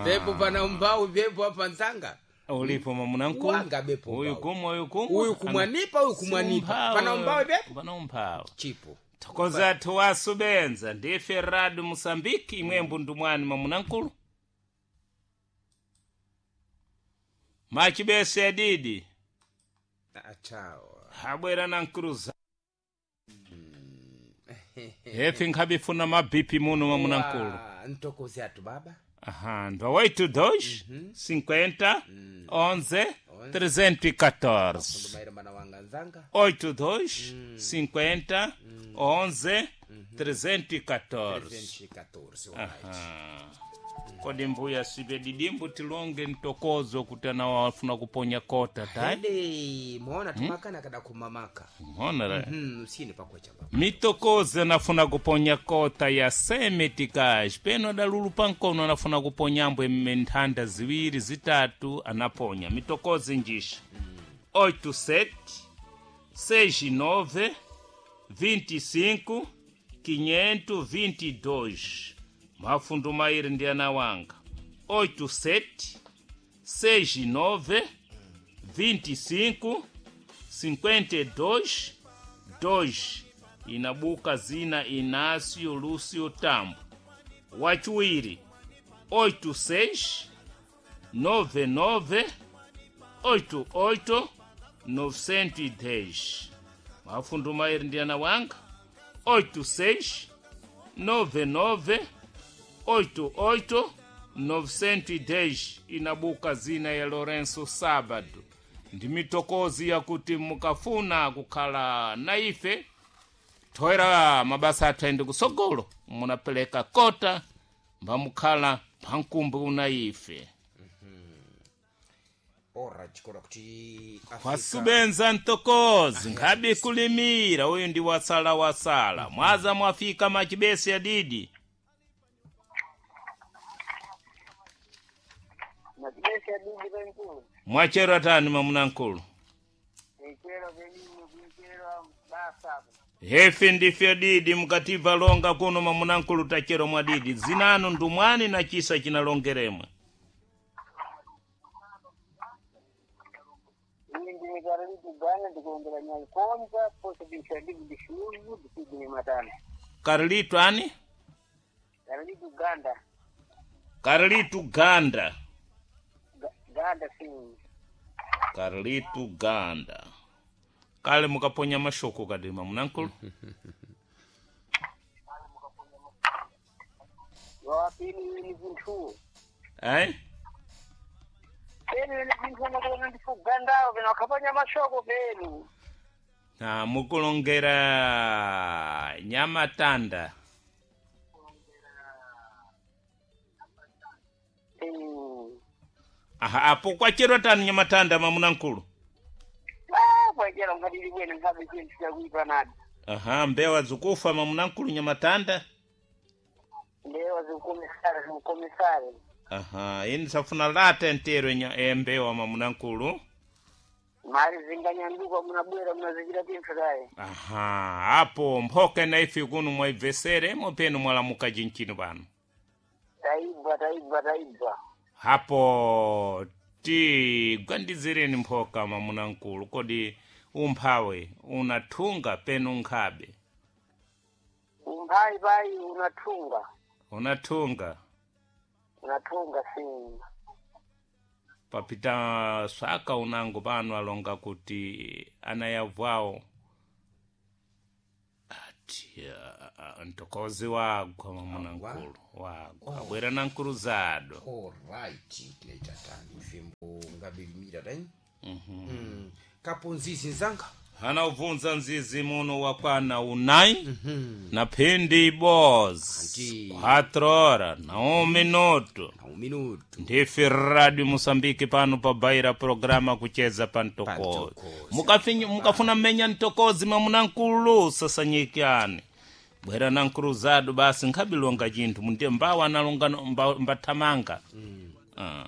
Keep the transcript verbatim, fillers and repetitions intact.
Pepo pana umbau pepo apa nzanga. Ulipo mamunankulu. Wanga bepo Uyu umbau. kumwa uyu kumwa. Uyu kumwanipa uyu kumwanipa. Umphawi. Pana umbau pepo? Pana umphawi. Chipo. Thokoza athu benza ndife radu Mosambiki imwe mbundumwani mamunankulu. Machibese adidi Achawa. habwera na nkuluza. Hefi nkhabifuna mabipi muno mamunankulu. Wa, Ntokoze atu baba. Aha, ndo oito dois cinquenta onze trezentos e quatorze. Ndumaire mana wanga nzanga. oito dois cinquenta onze trezentos e quatorze. trezentos e quatorze. Alright. Aha. Kodi mbuya sibe didimbu tilonge ntokozo kuti anawafuna kuponya kota tai Hede, muona tumakana kada kumamaka. mona ra Hmm, usini pakwecha baba. mitokozo anafuna kuponya kota ya semetikaj peno adalulu pankono anafuna kuponya ambwe menthanda ziwiri zitatu anaponya mitokozo njisha oito sete seis nove vinte e cinco quinhentos vinte e dois mafundu mairi ndi anawanga oito sete seis nove vinte e cinco cinquenta e dois dois inabuka zina Inácio Lúcio Tambo wachiwiri oito seis nove nove oito oito novecentos e dez mafundu mairi ndi anawanga oito seis nove nove oito oito novecentos e dez inabuka zina ya Lourenço Sábado ndi mitokozi yakuti mukafuna kukhala na ife thoera mabasa athu ayende kusogolo munapeleka kota mbamukhala phankumbi una ife Ora chikora kuti Afrika. wasubenza ntokozi nkhabe kulimira uyu ndi wasala wasala mwaza mwafika machibesi adidi Machibesi adidi penkulu. mwachero atani mamunankulu Ichero penini kuichero basa. hefe ndife adidi mukatibva longa kuno mamunankulu tachero mwadidi zinanu ndumwani na chisa chinalongeremwe Iyi ndine karalitu gana ndikuongera nyankonza posa bishadibu dishuzu disidi matana. karlitu ani Karalitu ganda. karlitu ganda Ga- Ganda sini. karlitu ganda kale mukaponya mashoko kadi mamunankulu Wapini ni vintu. eh Penu ni vintu nakuona ndifu gandao vina wakapanya mashoko penu. na mukulongera nyamatanda Mm. aha apo kwachero tani nyamatanda mamunankulu Ah, kwachera ngadili bwene ngabe chintu chakuipa nadi. aha mbewa zikufa mamunankulu nyamatanda Ndewa zikukomisare zikukomisare. aha ini safuna lata entero nya embewa mamunankulu Mari zinganyanduka munabwera munazichita pinthu tayi. aha apo mphoka na ife kuno mwaibveseremo penu mwalamuka cinchino pano Taibva taibva taibva. hapo tigwandizireni mphoka mamunankulu kodi umphawe unathunga penu nkhabe Umphayi payi unathunga. unathunga Unathunga sini. papita swaka unango pano alonga kuti anayavwawo ati ah, ah, ntokozi wagwa mamunankulu wagwa abwera na nkulu zado Alright, tinaita tani fembo ngabilimira tai. Mm. Kaponzizi nzanga. hana ubvunza nzizi muno wakwana unai na phindi boz Anti. quatro hora na um minuto Na un minuto. ndife radio Moçambique pano pabaira programa kucheza pa ntokozi Ntokozi. Mukafinyu- mukafuna mmenya ntokozi mamunankulu sasanyikani bwera na nkuluzado basi nkhabilonga chinthu mundiye mbawa analonga mba- mbathamanga mm. ah.